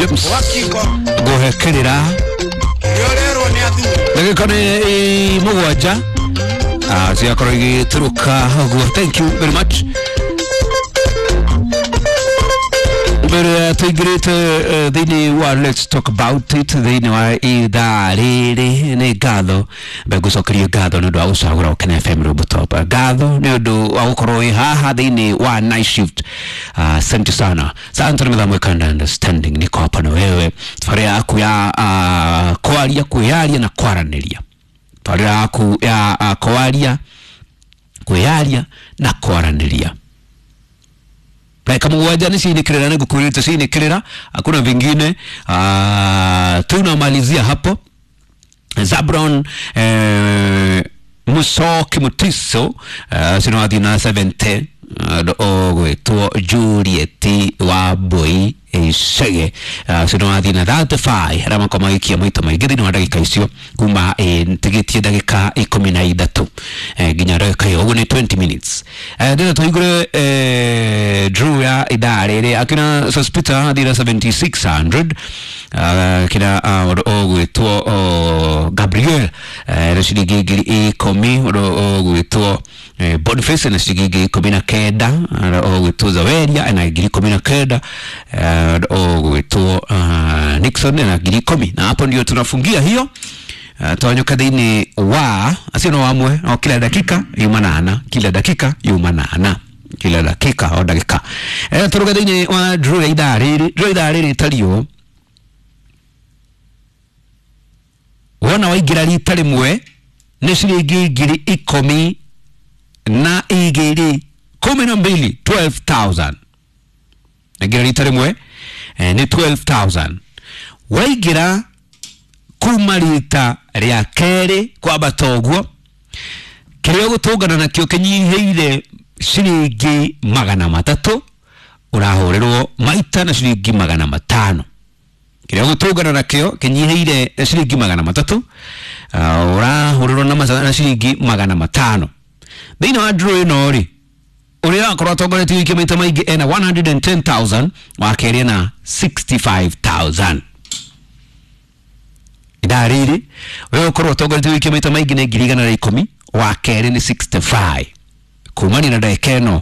James nguhekirira ndagika nĩ mũgwanja ciakorwo igĩtũrũka ũguo. Thank you very much. Mbere tũingĩrĩte thĩinĩ wa Let's Talk About It thĩinĩ wa ithaa rĩrĩ, nĩ ngatho mbegũcokerio ngatho nĩ ũndũ wa gũcagũra Ũkene FM Rũmbũ. Ngatho nĩ ũndũ wa gũkorwo wĩ haha thĩinĩ wa night shift. Asante sana. Asante na mĩthamo ĩkanda understanding, niko hapa na wewe tbarĩ yaku ya kwaria, kwĩyaria na kwaranĩria, tbarĩ yaku ya kwaria, kwĩyaria na kwaranĩria. Dakika mũgwanja nĩ ciinĩkĩrĩra, nĩ ngũkwĩrĩte ciinĩkĩrĩra, hakuna vingine. Tunamalizia hapo. Zabron Musoki Mutiso cinathiĩ na 70, ũgwĩtwo Juliet wa Mbui Icege cinathiĩ na 35, arĩa makorwo magĩikia maita maingĩ thĩinĩ wa ndagĩka icio kuma tigĩtie ndagĩka 13 nginya ndagĩka ĩyo, ũguo nĩ 20 minutes. Ndĩrenda tũhingũre draw ya ithaa rĩrĩ. Akina Sospita athire 7600, kina ũgwĩtwo Gabriel na ciringi 10,000, ũgwĩtwo Boniface na ciringi 19,000, ũgwĩtwo Zaweria na 19,000, ũgwĩtwo Nixon na 10,000. Na hapo ndio tunafungia hiyo. Twanyuka thĩinĩ wa acio no amwe o kila dakika yumanana, kila dakika yumanana, kila dakika o ndagĩka. Tũruga thĩinĩ wa draw ya ithaa rĩrĩ. Draw ithaa rĩrĩ ĩtariĩ wona waingĩra rita rĩmwe nĩ ciringi 12,000, 12, 12,000. Aingĩra rita rĩmwe nĩ 12,000. Waingĩra kuma rita rĩa kerĩ kwambata ũguo, kĩrĩa ũgũtũngana nakĩo kĩnyihĩire ciringi 300, ũrahũrĩrwo maita na ciringi 500. Kĩrĩa ũgũtũngana nakĩo kĩnyihĩire ciringi 300, ũrahũrĩrwo na ciringi 500. Thĩinĩ wa draw ĩno rĩ, ũrĩa akorwo atongoretie gũikia maita maingĩ ena 110,000, wa kerĩ ena 65,000. Ithaa rĩrĩ ũrĩa ũkorwo atongoretie gũikia maita maingĩ nĩ 110,000, wa kerĩ nĩ 65, kumania na ndagĩka ĩno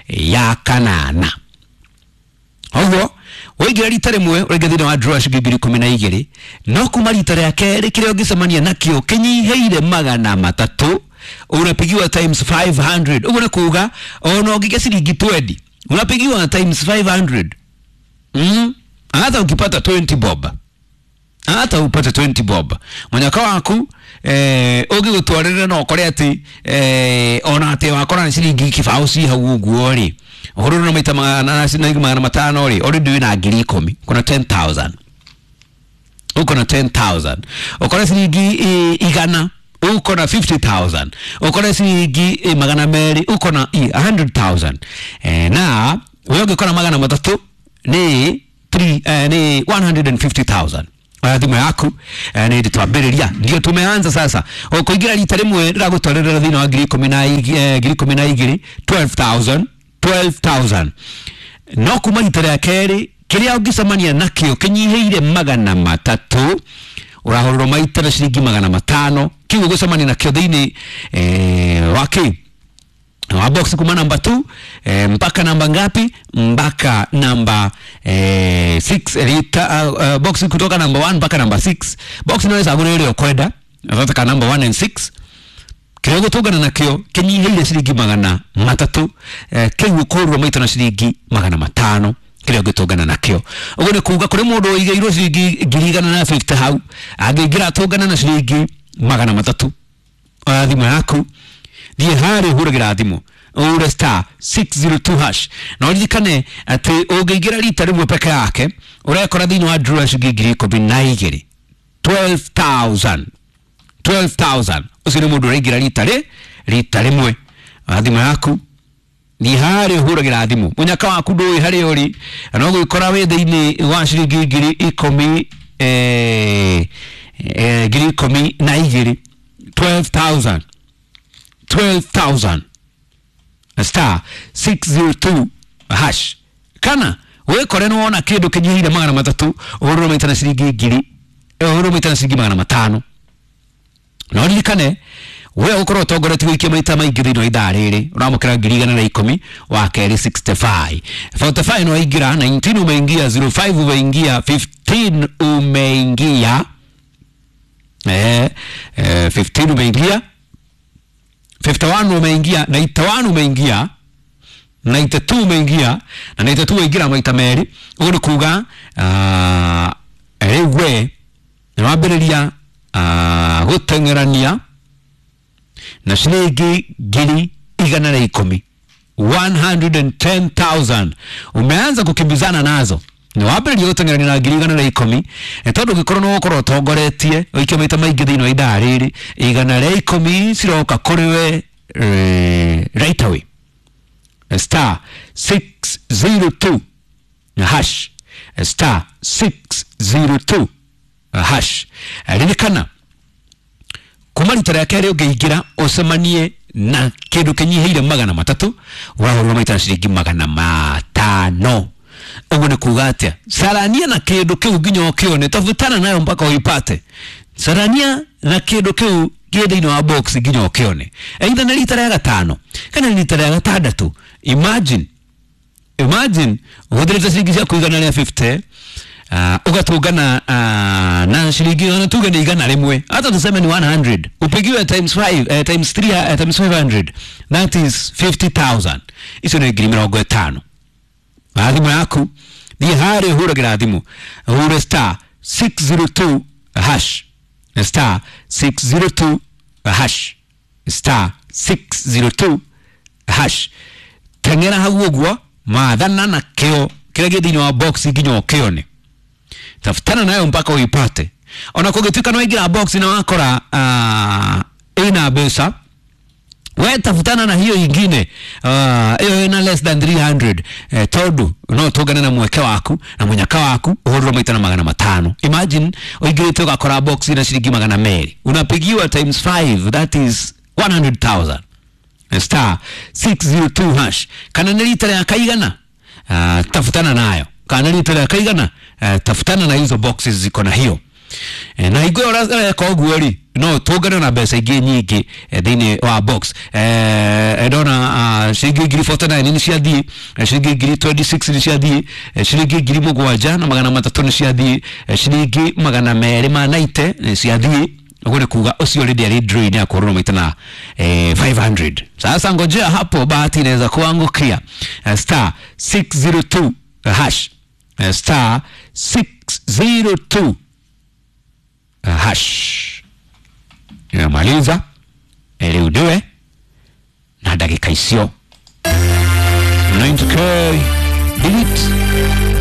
ya kanana. Ũguo waingĩra rita rĩmwe ũraingĩra thĩinĩ wa draw ya ciringi 12,000, no kuma rita rĩa kerĩ kĩrĩa ũngĩcemania nakĩo kĩnyihĩire 300, unapigiwa times 500. Ũguo nĩ kuga ona ũngĩikia ciringi 20 unapigiwa times 500. Hata ukipata 20 bob, hata upate 20 bob mũnyaka waku ũngĩgũtwarĩra no ũkore atĩ ona atĩ wakora nĩ ciringi kĩbaũ ci hau ũguo rĩ, ũhũrĩrwo na maita 500 rĩ, already wĩna 10,000, kuna 10,000, uko na 10,000. Ũkore ciringi 100, uko na 50,000. Ũkore ciringi 200, uko na 100,000. Na wewe ũngĩkora 300 nĩ 3 nĩ 150,000. Oya thimũ yaku nĩ hĩndĩ twambĩrĩria, ndio tumeanza sasa. Ũkũingĩra rita rĩmwe rĩragũtwarĩrĩra thĩinĩ wa 12,000, 12,000, 12,000. No kuma rita rĩa kerĩ kĩrĩa ũngĩcemania nakĩo kĩnyihĩire 300, ũrahũrĩrwo maita na ciringi 500. Kĩu ũgũcemania nakĩo thĩinĩ wa kĩ wa box kuma namba 2 mpaka namba ngapi? Mpaka namba 6 lita, box kutoka namba 1 mpaka namba 6. Box inaweza gũrĩa ĩrĩa ũkwenda, nataka namba 1 and 6. Kĩrĩa ũgũtũngana nakĩo kĩnyihĩire ciringi 300, kĩu ũkũhũrĩrwo maita na ciringi 500 kĩrĩa ũngĩtũngana nakĩo. Ũguo nĩ kuga kũrĩ mũndũ ũigĩirwo ciringi 1,150 hau, angĩingĩra atũngana na ciringi 300. Oya thimũ yaku, thiĩ harĩa ũhũragĩra thimũ, ũhũre star 602 hash. Na ũririkane atĩ ũngĩingĩra rita rĩmwe peke yake ũrekora thĩinĩ wa draw ya ciringi 12,000, 12,000, 12,000. Ũcio nĩ mũndũ ũraingĩra rita rĩmwe. Oya thimũ yaku, thiĩ harĩa ũhũragĩra thimũ, mũnyaka waku ndũĩ harĩa ũrĩ, na ũgũgĩkora wĩ thĩinĩ wa ciringi 10,000, 12,000, 12,000, 12,000, star 602 hash. Kana Wikore nĩwona kĩndũ kĩnyihĩire 300 ũhũrĩrwo maita na ciringi ngiri, ũhũrĩrwo maita na ciringi 500. No ririkane we ũkorwo ũtongoretie gũikia maita maingĩ thĩinĩ wa ithaa rĩrĩ ũramũkĩra 110,000, wa kerĩ 65, 45 no waingĩra, 19 umeingia, 05 umeingia, 15 umeingia, 15 umeingia, 51 umeingia, 91 umeingia, 92 umeingia, na 92 waingĩra maita merĩ. Ũguo nĩ kuga rĩu we nĩwambĩrĩria gũteng'erania na ciringi 110,000, 110,000 umeanza kukimbizana nazo. Nĩwambĩrĩria gũteng'erania na 110,000, tondũ ũngĩkorwo nĩ ũgũkorwo ũtongoretie ũikie maita maingĩ thĩinĩ wa ithaa rĩrĩ, 110 ciroka kũrĩ we right away. Star 602 hash, star 602 hash. Ririkana kuma rita rĩa kerĩ ũngĩingĩra ũcemanie na kĩndũ kĩnyihĩire 300 ũrahũrwo maita na ciringi 500. Ũguo nĩ kuga atĩa? Carania na kĩndũ kĩu nginya ũkĩone, tafutana nayo mpaka uipate. Carania na kĩndũ kĩu kĩ thĩinĩ wa box nginya ũkĩone, either nĩ rita rĩa gatano kana nĩ rita rĩa gatandatũ. Imagine ũhũthĩrĩte ciringi ciaku 150, ugatungana na ciringi ona tuge ni 100, hata tuseme ni 100, upigiwe times 5, times 3, times 500, that is 50,000. Icio nĩ 50,000. Na thimũ yaku thiĩ harĩa ũhũragĩra thimũ, ũhũre star 602 hash, star 602 hash, star 602 hash. Teng'era hau ũguo, mathana na kĩo kĩrĩa gĩ thĩinĩ wa box nginya ũkĩone, tafutana nayo mpaka uipate. Ona kũngĩtuĩka nĩ waingĩra box na wakora ĩna mbeca, we tafutana na hiyo ingine, hiyo ina less than 300, tondu no tũngane na mweke waku na mũnyaka waku ũhũrĩrwo maita na 500. Imagine ũingĩrĩte ũgakora box ina ciringi 200, unapigiwa times 5, that is 100,000. Star 602 hash. Kana nĩ rita rĩa kaigana, tafutana nayo. Kana rita rĩa kaigana, tafutana na hizo boxes ziko na hiyo. Na hingo ĩyo ũreka ũguo rĩ, no tũngane na mbeca ingĩ nyingĩ thĩinĩ wa box. Ndona ciringi 49,000 nĩ ciathiĩ, ciringi 26,000 nĩ ciathiĩ, ciringi 7,300 nĩ ciathiĩ, ciringi 290 nĩ ciathiĩ. Ũguo nĩ kuga ũcio already arĩ draw-inĩ ya kũhũrwo maita na 500. Sasa ngojea hapo, bahati inaweza kuangukia. Star 602 hash, star 602 hash. Nimemaliza rĩu ndiwe na ndagĩka icio 90K delete.